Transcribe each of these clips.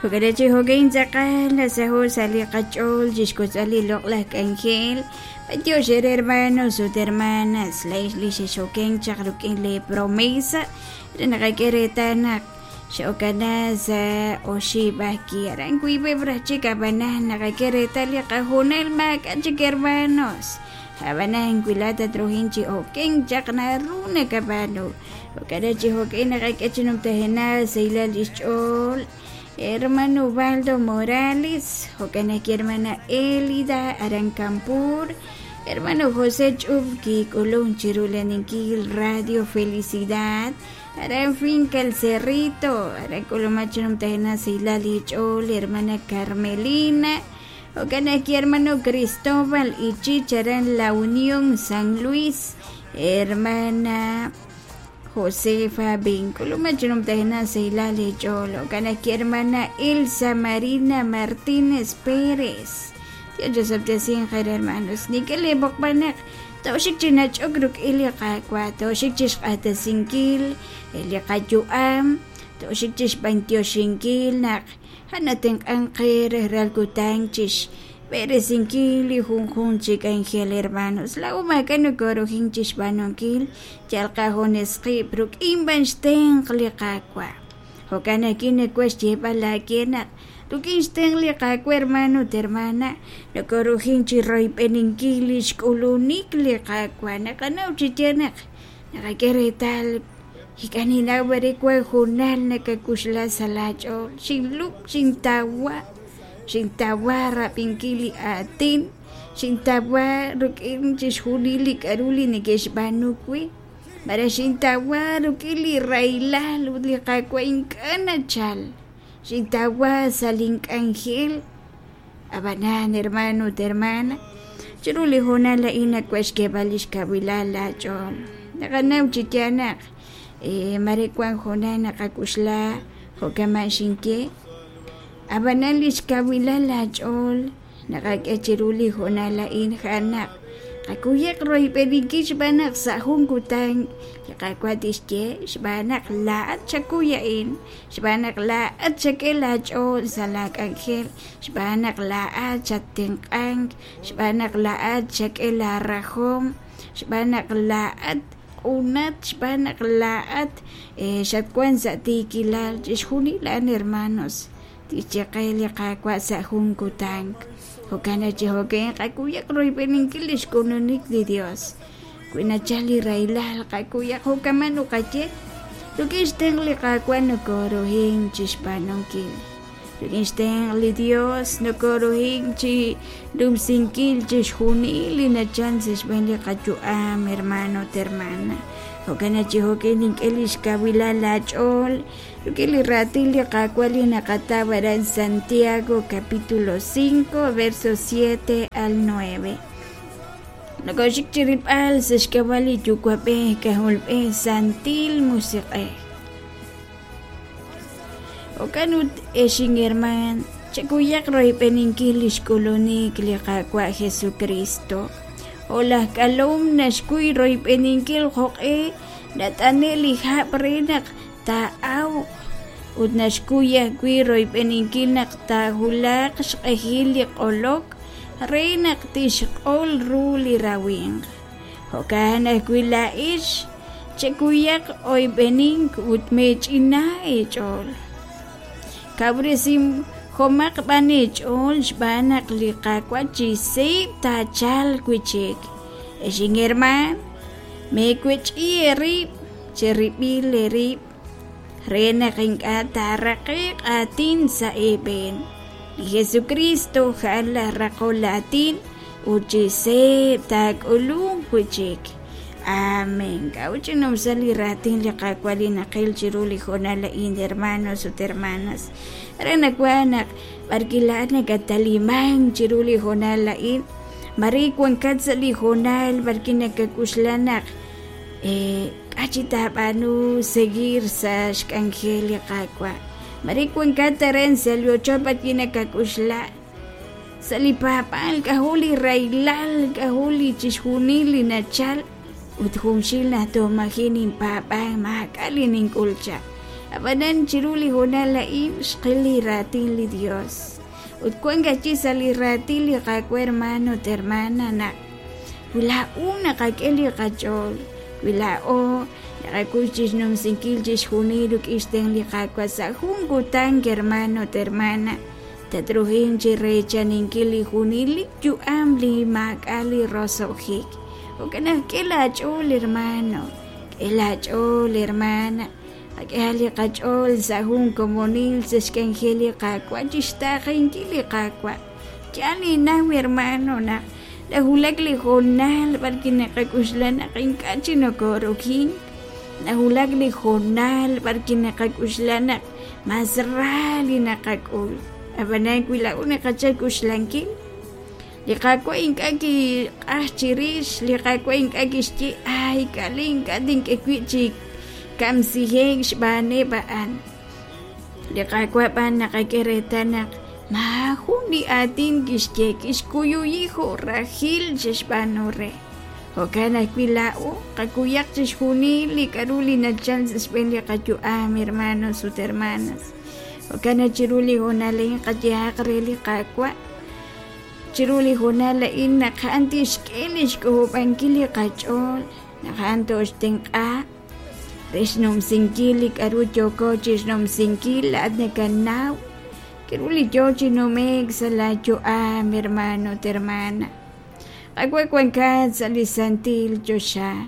Jo'kan chi jo'kan tz'aqal nasaho' sa' li qach'ool chixwotzb'al li loq'laj k'anjel. B'antiox eere hermanos ut hermanas, laa'ex li xexokenk chaq rik'in lee promesa re naqak'e reetal naq xe'okana sa' oxib' ajwi'. Aran wiib'eb' raj chik ab'anan naqak'e reetal li qahoonal maak'a' chik hermanos. Ab'anan wi laa'at tatruhin chi okenk chaq naru nakab'aanu. Jo'kan chi jo'kan naqak'e chi numtajenaq sahilal lix ch'ool hermano Ubaldo Morales, jo'kan ajwi' hermana Elida aran Campur, hermano José Ch'ub kik'ulun chiru laninkil Radio Felicidad aran Finca El Cerrito, aran k'ulumak chi numtajenaq sahilal li ch'ool hermana Carmelina, jo'kan ajwi' hermano Cristóbal Ichich aran La Unión San Luis, hermana Josefa Vinculumak chi numtajenaq sahilal li ch'ool, jo'kan ajwi' hermana Elsa Marina Martínez Pérez. Dios chosob'tesinq eere hermanos, nink'e lee b'oqb'al naq tooxik chi nach'ok rik'in li Qaawa', tooxik chixq'axtesinkil li qayu'am, tooxik chixb'antioxinkil naq a'an natenq'ank qe rajlal kutan chixb'eresinkil li junjunq chi k'anjel hermanos. Laa'o maak'a' nokoruhin chixb'aanunkil, yal qajunes qib' rik'in b'an xtenq' li Qaawa'. Jo'kan ajwi' nawaj xyeeb'al aawe naq rik'in xtenq' li Qaawa' hermano ut hermana, nokoruhin chi royb'eninkil li xk'ulunik li Qaawa'. Naqanaw chi yaal naq naqak'e reetal ink'a' ninnaw b'ar wan hoonal nakakuxla sa' laach'ool, xinlub', xintawa, xintawa rab'inkil li aatin, xintawa rik'in chixjunil li k'a'ru li neke'xb'aanu we, malaj xintawa rik'in li rahilal ut li Qaawa' ink'a' nachal, xintawa sa' link'anjel. Ab'anan, hermano ut hermana, chiru li hoonal a'in nawaj xk'eeb'al lix kawilal laach'ool. Naqanaw chi yaal naq mare wan hoonal naqak'uxla jo' kama' xinye, ab'anan lix kawilal laach'ool naqak'e chiru li hoonal a'in a'an naq qakuyaq royb'eninkil xb'aan naq sa' jun kutan li Qaawa' tixye xb'aan naq laa'at xakuy a'in, xb'aan naq laa'at xak'e laach'ool sa' laak'anjel, xb'aan naq laa'at xattenq'ank, xb'aan naq laa'at xak'e laarajom, xb'aan naq laa'at q'unat, xb'aan naq laa'at xatwank sa' tiikilal. Chixjunil a'an hermanos tixye qe li Qaawa' sa' jun kutan. Jo'kan naq chi jo'kan qakuyaq royb'eninkil li xk'ulunik li Dios. Wi nachal li rahilal qakuyaq jo'kaman nuqaye, rik'in xtenq' li Qaawa' nokoruhin chi xb'aanunkil. Rik'in xtenq' li Dios nokoruhin chi numsinkil chixjunil li nachal sa' xb'een li qayu'am, hermano ut hermana. Jo'kan naq chi jo'kan nink'e li xkawilal laach'ool rik'in li raatin li Qaawa' li naqataw aran Santiago capítulo 5 versos 7 al 9. Nokoxik chi rilb'al sa' xk'ab'a' li Yuwa'b'ej K'ajolb'ej Santil Musiq'ej. Jo'kan ut, ex inhermaan, chekuyaq royb'eninkil li xk'ulunik li Qaawa' Jesukristo. Jo' laj k'alom naxkuy royb'eninkil jo'q'e nat'ane' li hab' re naq taa'awq, ut naxkuy ajwi' royb'eninkil naq taawulaq xq'ehil li q'olok re naq tixq'ol ru li rawimq. Jo'kan ajwi' laa'ex, chekuyaq oyb'enink ut meech'ina eech'ool. Kawresihomaq b'an eech'ool xb'aan naq li Qaawa' chi seeb' taachalq wi' chik. Ex inhermaan, meewech'i eerib' cherib'il eerib' re naq ink'a' taaraqe'q aatin sa' eeb'een. Li Jesukristo a'an laj raqol aatin ut chi seeb' taak'ulunq wi' chik. Amén. K'a'ut chi numsa li raatin li Qaawa' li naqil chiru li hoonal a'in, hermanos ut hermanas? Re nawaj naq b'arwi' laa'at nakatalimank chiru li hoonal a'in, mare wankat sa' li hoonal b'arwi' nakak'uxla naq k'a' chi taab'aanu seguir sa' xk'anjel li Qaawa'. Mare wankat aran sa' li ochoch b'arwi' nakak'uxla sa' li paab'aal k'ajo' li rahilal, k'ajo' li chixjunil li nachal ut junxil naq toj maji' ninpaab'ank maak'a' li nink'ul chaq. Ab'anan chiru li hoonal a'in xqil li raatin li Dios. Ut wank ajwi' sa' li raatin li Qaawa' hermano ut hermana naq wi laa'o naqak'e li qach'ool, wi laa'o naqakuy chixnumsinkil chixjunil rik'in xtenq' li Qaawa' sa' jun kutan hermano ut hermana, tatruhin chi reechaninkil li junelik yu'am li maak'a' li roso'jik. Jo'kan naq k'e laach'ool hermano, k'e laach'ool hermana, qak'ehaq li qach'ool sa' jun komonil sa' xk'anjel li Qaawa' chixtaaqenkil li Qaawa'. Yaal ninnaw hermano naq nawulak li hoonal b'arwi' naqak'oxla naq ink'a' chik nokoorokin, nawulak li hoonal b'arwi' naqak'oxla naq mas ra li naqak'ul. Ab'anan wi laa'o naqachal k'oxlankil, li Qaawa' ink'a' kiq'aj chirix, li Qaawa' ink'a' kixye ay k'ali ink'a' tink'e wib' chi kamsije'k xb'aaneb' a'an. Li Qaawa' b'an naqak'e reetal naq maajun li aatin kixye, kixkuyuyi jo' rajil xe'xb'aanu re. Jo'kan ajwi' laa'o qakuyaq chixjunil li k'aru li nachal sa' xb'een li qayu'am, hermanos ut hermanas. Jo'kan naq chiru li hoonal a'in qayehaq re li Qaawa' chiru li hoonal a'in naq a'an tixk'e li xk'ojob'ankil li qach'ool, naq a'an tooxtenq'a re xnumsinkil li k'aru yooko chi xnumsinkil. Laa'at nakanaw k'aru li yoo chi nume'k sa' laa yu'am, hermano ut hermana. Qaawa' wankat sa' li santil choxa.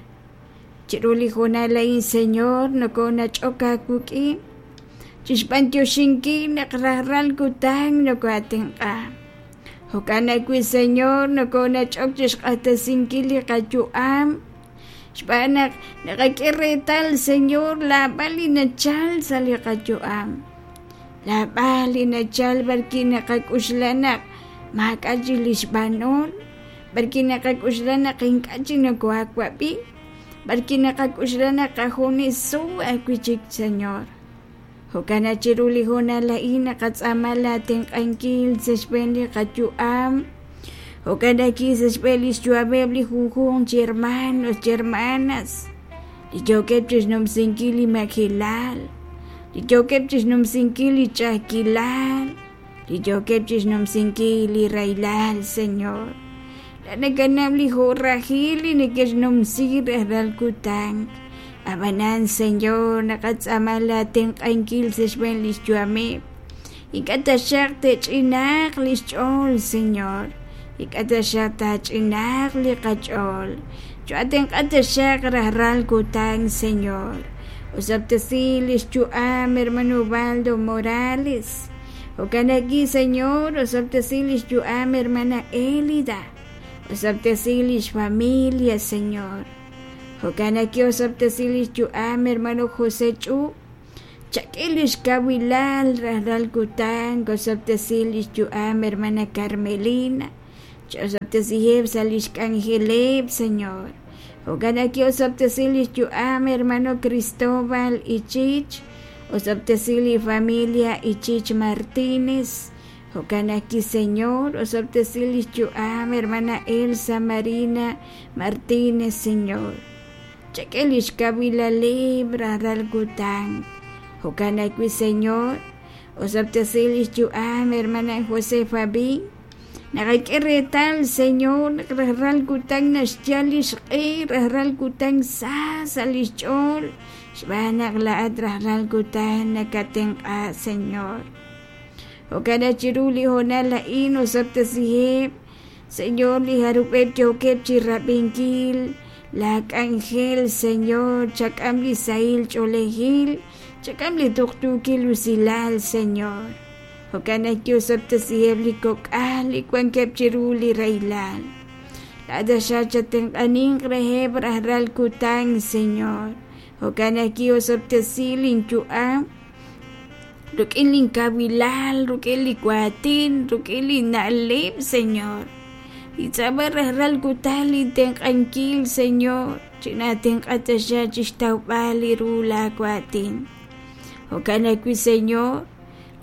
Chiru li hoonal a'in, Señor, nokonach'ok aawik'in chixb'antioxinkil naq rajlal kutan nokoatenq'a. Jo'kan ajwi', Señor, nokonach'ok chixq'axtesinkil li qayu'am xb'aan naq naqak'e reetal, Señor, laab'al li nachal sa' li qayu'am. Laab'al li nachal b'arwi' naqak'oxla naq maak'a' chik li xb'anol, b'arwi' naqak'oxla naq ink'a' chik nokoaawab'i, b'arwi' naqak'oxla naq qajuneso ajwi' chik, Señor. Jo'kan naq chiru li hoonal a'in naqatz'aama laatenq'ankil sa' xb'een li qayu'am, jo'kan ajwi' sa' xb'een li xyu'ameb' li junjunq chi hermanos chi hermanas li yookeb' chixnumsinkil li majelal, li yookeb' chixnumsinkil li ch'a'ajkilal, li yookeb' chixnumsinkil li rahilal, Señor. Laa'at nakanaw li jo'rajil li neke'xnumsi rajlal kutan. Ab'anan, Señor, naqatz'aama laatenq'ankil sa' xb'een li xyu'ameb'. Ink'a' taxaq te'ch'inaaq li xch'ool, Señor. Ink'a' taxaq taach'inaaq li qach'ool. Cho'atenq'a taxaq rajlal kutan, Señor. Osob'tesi li xyu'am hermano Ubaldo Morales. Jo'kan ajwi', Señor, osob'tesi li xyu'am hermana Elida. Osob'tesi li xfamilia, Señor. Jo'kan ajwi' osob'tesi li xyu'am hermano José Ch'u. Chak'e li xkawilal rajlal kutan, osob'tesi li xyu'am hermana Carmelina. Ch'osob'tesiheb' sa' li xk'anjeleb', Señor. Jo'kan ajwi' osob'tesi li xyu'am hermano Cristóbal Ichich. Osob'tesi li familia Ichich Martínez. Jo'kan ajwi', Señor, osob'tesi li xyu'am hermana Elsa Marina Martínez, Señor. Chak'e li xkawilaleb' rajlal kutan. Jo'kan ajwi', Señor, osob'tesi li xyu'am hermana Josefa Bin. Naqak'e reetal, Señor, naq rajlal kutan naxyal li xq'e, rajlal kutan sa sa' li xch'ool, xb'aan naq laa'at rajlal kutan nakatenq'a, Señor. Jo'kan naq chiru li hoonal a'in osob'tesiheb', Señor, li jarub'eb' yookeb' chi rab'inkil laa k'anjel, Señor, chak'am li sahil ch'oolejil, chak'am li tuqtuukil usilal, Señor. Jo'kan naq yosob'tesiheb' li kok'al li wankeb' chiru li rahilal. Laa'at taxaq chatenq'aninq reheb' rajlal kutan, Señor. Jo'kan naq ki'osob'tesi linyu'am rik'in linkawilal, rik'in li waatin, rik'in li na'leb', Señor. Nintz'aama rajlal kutan lintenq'ankil, Señor, chinaatenq'a taxaq chi xtawb'al li ru laawaatin. Jo'kan ajwi', Señor,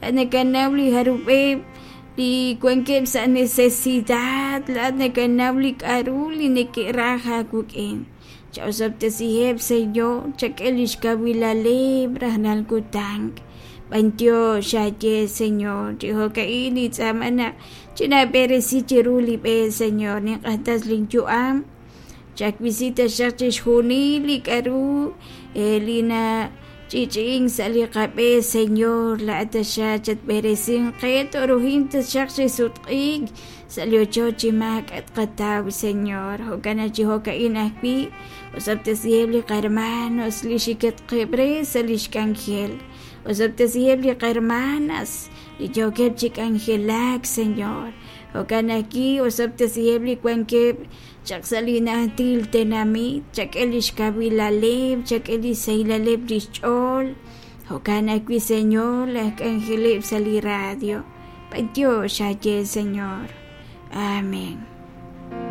Laa'at nakanaw li jarub'eb' li wankeb' sa' necesidad, laa'at nakanaw li k'a'ru li neke'raj aawik'in. Chaosob'tesiheb', Señor, chak'e lix kawilaleb' rajlal kutan. B'antiox aaye, Señor, chi jo'ka'in nintz'aama naq chinaab'eresi chiru li b'e, Señor, ninq'axtes lin yu'am. Chawisi taxaq chixjunil li k'a'ru li nach'i'ch'i'ink sa' li qab'e, Señor, laa'at taxaq chatb'eresinq qe, tooruhinq taxaq chi sutq'iik sa' li ochoch chi maak'a' tqataw, Señor. Jo'kan naq chi jo'ka'in ajwi' osob'tesiheb' li qahermanos li xikatqeb' re sa' lix k'anjel. Osob'tesiheb' li qahermanas li yookeb' chi k'anjelak, Señor. Jo'kan ajwi' osob'tesiheb' li wankeb' chaq sa' li najtil tenamit, chak'e lix kawilaleb', chak'e lix sahilaleb' lix ch'ool. Jo'kan ajwi', Señor, laj k'anjeleb' sa' li radio. B'antiox aaye, Señor. Amén.